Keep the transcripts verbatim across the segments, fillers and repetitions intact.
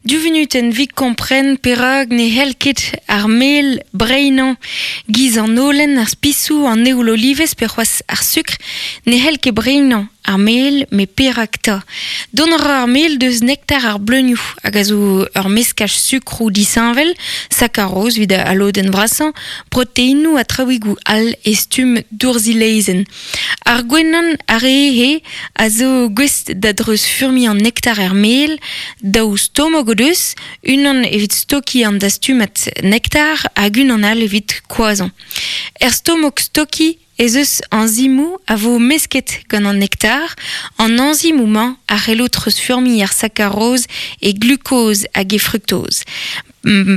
Du venutenn 'vit kompren perak ne c'hell ket ar mel breinañ giz an holen, ar spisoù, an eoul olivez pe c'hoazh ar sukr, ne c'hell ket breinañ ar mel, met perak 'ta. Dont a ra ar mel deus nektar ar bleunioù hag a zo ur meskaj sukroù disheñvel, sakaroz evit al lodenn vrasañ, proteinoù ha traouigoù all e stumm dourzilezenn. Ar gwenan ar re a zo gouest da dreuzfurmiñ an nektar er mel, daou stomok o deus, unan evit stokiñ an dastumad nektar hag unan all evit koazhañ. Er stomok stokiñ ez eus añzimoù a vo mesket gant an nektar, an añzimoù-mañ a c'hello treuzfurmiñ ar sakaroz e glukoz hag e fruktoz.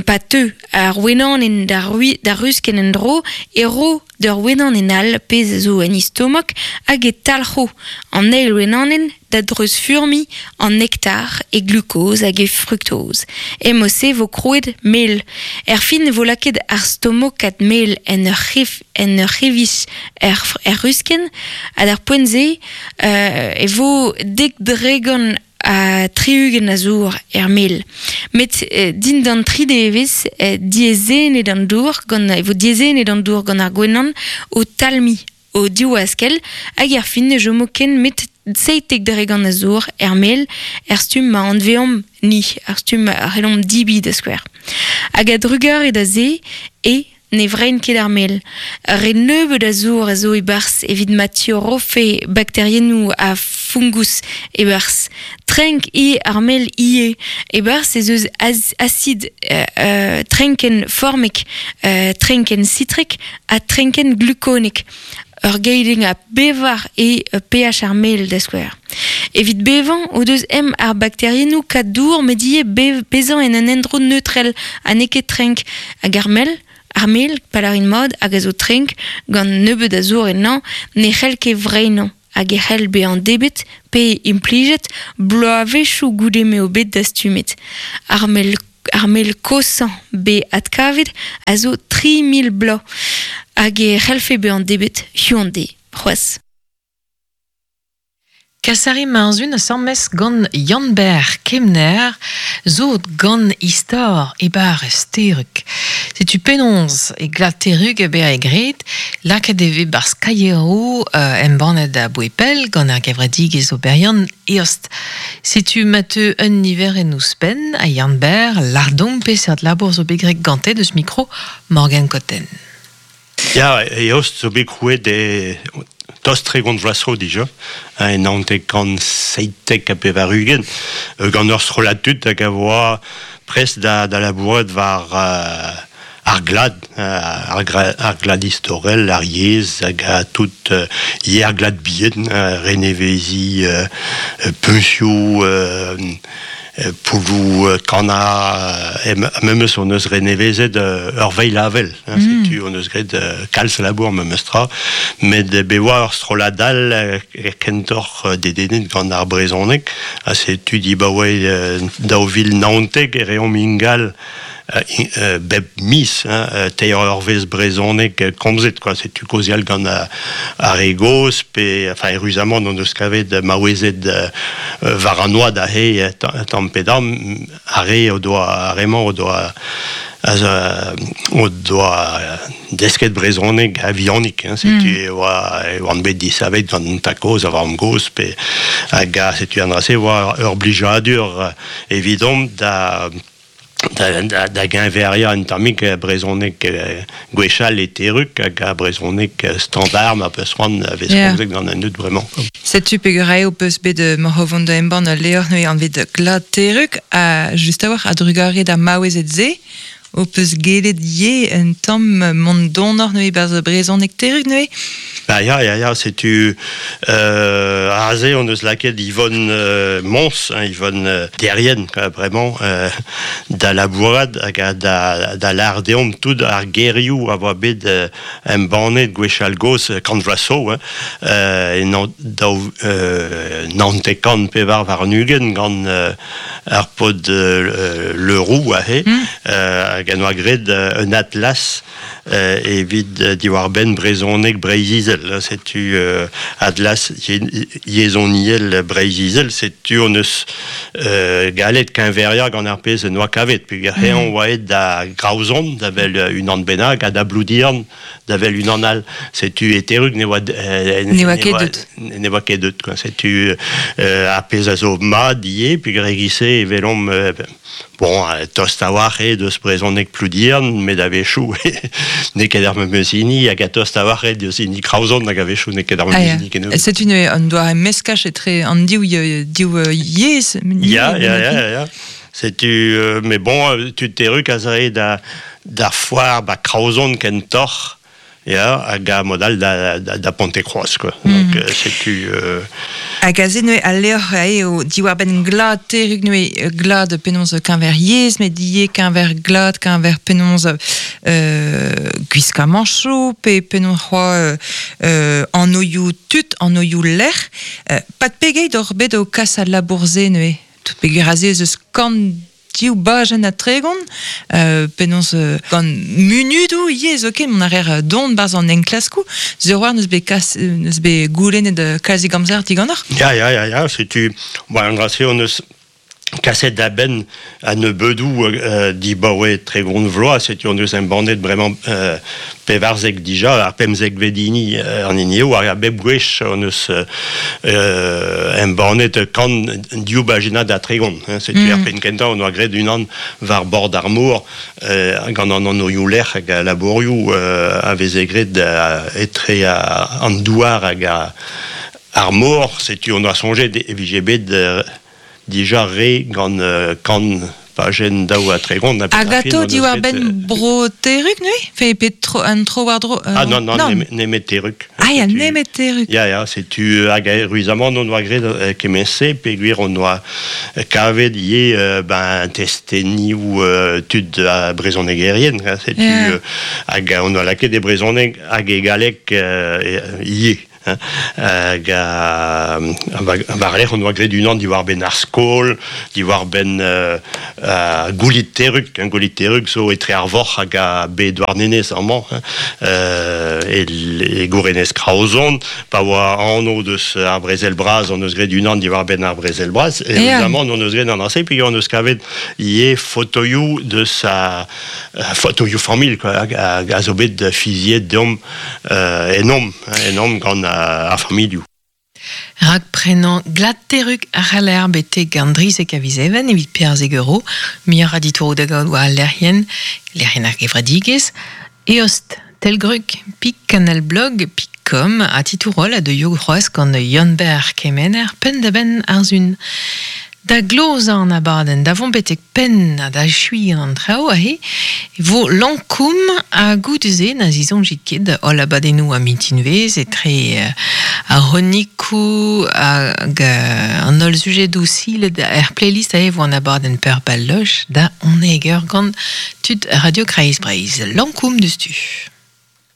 Pa teu ar wenanenn da da ruskenn en-dro e ro d'ur wenanenn all pezh zo en he stomok hag e talc'ho an eil wenanenn da dreuzfurmiñ an nektar e glukoz hag e fruktoz. E-mod-se vo krouet mel. Erfin e vo lakaet ar stomokad mel en ur c'hef, en ur c'hevij er, er ruskenn ha d'ar poent-se euh, e vo dek dregont a tri-ugent a zour er mel. Met eh, dindan tri devezh eh, diaezhennet an dour gant e vo diaezhennet an dour gant ar gwenan o talmiñ o div askell hag er fin ne chomo ken met seitek dregont a zour er mel er stumm ma anveomp ni, ar stumm a c'hellomp debriñ da skouer. Hag a drugarez da se e ne vrein ket ar mel. Re nebeut a zour a zo e-barzh evit ma tiorrofe bakteriennoù ha fungus e-barzh. Trenk eo ar mel ivez. E-barzh ez eus az acid euh, euh, trenkenn formek, euh, trenkenn sitrek ha trenkenn glukonek. Ur geidenn a bevar e pH ar mel da skouer. Evit bevañ o deus ezhomm ar bakteriennoù kad dour met ivez bev bezañ en un endro neutrel ha n'eo ket trenk hag ar mel, ar mel, pa lârin mat, hag a zo trenk gant nebeut a zour ennañ, ne c'hell ket vreinañ hag e c'hell bezañ debret pe implijet bloavezhioù goude m'eo bet dastumet. Ar mel ar mel kozhañ bet adkavet a zo tri mil bloaz hag e c'hellfe bezañ debret hiziv an deiz c'hoazh. Kasari Marzun asambles gant Yann-Ber Kemner zo gant istor e-bar Terrug. Setu penaos e glad Terrug e bezañ graet, lakaet e vez 'barzh kaieroù euh, embannet aboe pell gant ar gevredigezh oberiant Eost. Setu ma teu un niverenn ouzhpenn a Yann-Ber lâr deomp peseurt labour zo bet graet gante deus mikro Morgan Cotten. Ya, Eost zo bet krouet e tost tregont vloaz zo dija, en naontek kant seitek ha pevar-ugent, gant ur strollad tud hag a oa prest da, da labourat war uh, ar glad, ar, ar glad istorel, ar yezh, hag a tout uh, yer ar glad bihan, uh, reneveziñ, uh, puñsioù, uh, poulloù kannañ, e memes hon eus renevezet ur veilh-avel. Mm. Setu hon eus graet kalz labour memes tra, met bet oa ur strollad all kentoc'h dedennet gant ar brezhoneg, ha setu dibaoe daou vil naontek e reomp ingal bep miz, hein, teir eurvezh brezhoneg komzet, quoi. Setu kaozeal gant ar re gozh, pe, enfin, eüruzamant hon eus kavet maouezed war an oad aze tamm pe damm, ar re o doa, ar re-mañ o doa o doa desket brezhoneg a-vihanik, hein, setu mm. e oa e oant bet disavet gant an tad-kozh ha vamm-gozh, pe hag setu an dra-se oa ur blijadur evidomp da da, da, da geñveriañ un tammig brezhoneg gwechall e Terrug hag a brezhoneg standard ma peus c'hoant a vez komzet gant an dud bremañ. Setu peger eo peus bet moc'h o vont da embann ul levr neuze anvet Glad Terrug ha just a-walc'h a-drugarez d'ar maouezed-se ho peus gellet ivez un tamm mont donoc'h neuze 'barzh brezhoneg Terrug neuze? Bah ya, ya, ya, setu euh, aze hon eus lakaet Yvonne euh, Mons, hein, Yvonne euh, Derrien, vraiment, euh, da labourat hag a da, da lâr deomp tout ar gerioù a oa bet euh, embannet gwechall gozh kant vloaz zo, hein, euh, e nan, daou, euh, naontek kant pevar warn-ugent gant euh, ar paotr euh, Le Roux aze, mm. euh, hag en oa graet un atlas euh, evit diwar ben brezhoneg Breizh-Izel. Setu euh, atlas yezhoniel Breizh-Izel, setu on eus euh, galet keñveria gant ar pezh noa kavet. Peogwir mm. eñ oa aet da Graozon, da vel unan bennak, ha da Bloudiern, da vel unan all. Setu e Terrug ne oa euh, ne oa ket deut. Ne oa ket deut, quoi. Setu euh, ar pezh a zo mat ivez, peogwir e-giz-se e welomp euh, bon, tost a-walc'h eo deus brezhoneg Ploudiern, met a-wechoù n'eo ket ar memes hini, hag a tost a-walc'h eo deus hini Kraozon, hag a-wechoù n'eo ket ar memes hini kennebeut. Setu neuze un doare meskaj etre an div, div yezh. Ya, ya, ya, ya. Setu, euh, mais bon, tud Terrug a zae da, da foar ba Kraozon kentoc'h, ya, hag a mod all da, da, da Pontekroaz, quoi. Mm. Donc, euh, setu... Euh... Hag aze neuze al levr eo diwar-benn glad Terrug neuze glad penaos keñver yezh, met ivez keñver glad, keñver penaos euh, gwiskamanchoù, pe penaos c'hoazh euh, anvioù tud, anvioù lec'h. Euh, pat pegeit oc'h bet o kas al labour-se neuze? Tout peogwir aze ez eus kant div bajenn ha tregont, euh, penaos euh, gant munudoù ivez zoken, mont a reer don barzh an enklaskoù, sur war n'eus bet kas, n'eus bet goulennet kalzik amzer diganeoc'h. Ya, ya, ya, ya, setu, bon, an dra-se hon eus kaset da benn a nebeudoù euh, dibaoe tregont vloaz, setu hon eus embannet bremañ euh, pevarzek dija, ar pemzekvet hini euh, an hini eo, hag a bep gwech hon eus euh, embannet kant div bajennad ha tregont. Hein, setu mm. ar penn kentañ hon oa graet unan war bord ar mor, euh, gant an anvioù lec'h hag a labourioù euh, a veze graet euh, etre a, an douar hag a, ar mor, setu hon oa soñjet e vije bet euh, dija re gant euh, kant pajenn daou ha tregont. Hag atao diwar-benn bro Terrug neuze? Fe pe tro, an tro war-dro... Euh, ah non, non, non. Nemet Terrug. Ah ya, nemet Terrug. Ya, ya, setu hag ruizamant hon oa graet euh, kement-se, peogwir hon oa kavet ivez euh, ben, testenioù euh, tud a brezhonegerien. Setu yeah. euh, hag on oa lakaet e brezhoneg hag e galleg euh, ivez. Hag a war-lerc'h hon oa graet unan diwar-benn ar skol, diwar-benn euh, goulit Terrug, hein, goulit Terrug zo etre ar vorc'h hag a be Douarnenez amañ, hein, euh, e, e gourenez Kraozon, pa oa anv deus ar brezel bras, hon eus graet unan diwar-benn ar brezel bras, e évidemment hon eus graet an ase, puis hon eus kavet ivez fotoioù deus a fotoioù familh, quoi, hag a zo bet fiziet deomp euh, enomp, hein, enomp gant ar familhoù. Rak prenañ glad Terrug a c'haller betek an drizek a viz Even evit perzek euro, muioc'h a ditouroù da gaout war al lec'hienn, lec'hienn ar gevredigezh, eost telgrug pik kanal blog pik com ha titourol a deuio c'hoazh gant Yann-Ber Kemener penn da benn ar sun. Da glozañ an abadenn, da vont betek penn ha da echuiñ an traoù aze, vo Lankoum ha goude-se na zisoñjit ket holl abadennoù a mintinvezh etre ar c'hronikoù hag an holl sujedoù silet er playlist aze vo an abadenn Peur Balloch da unnek eur gant tud Radio Kreiz Breizh. Lankoum deus tu.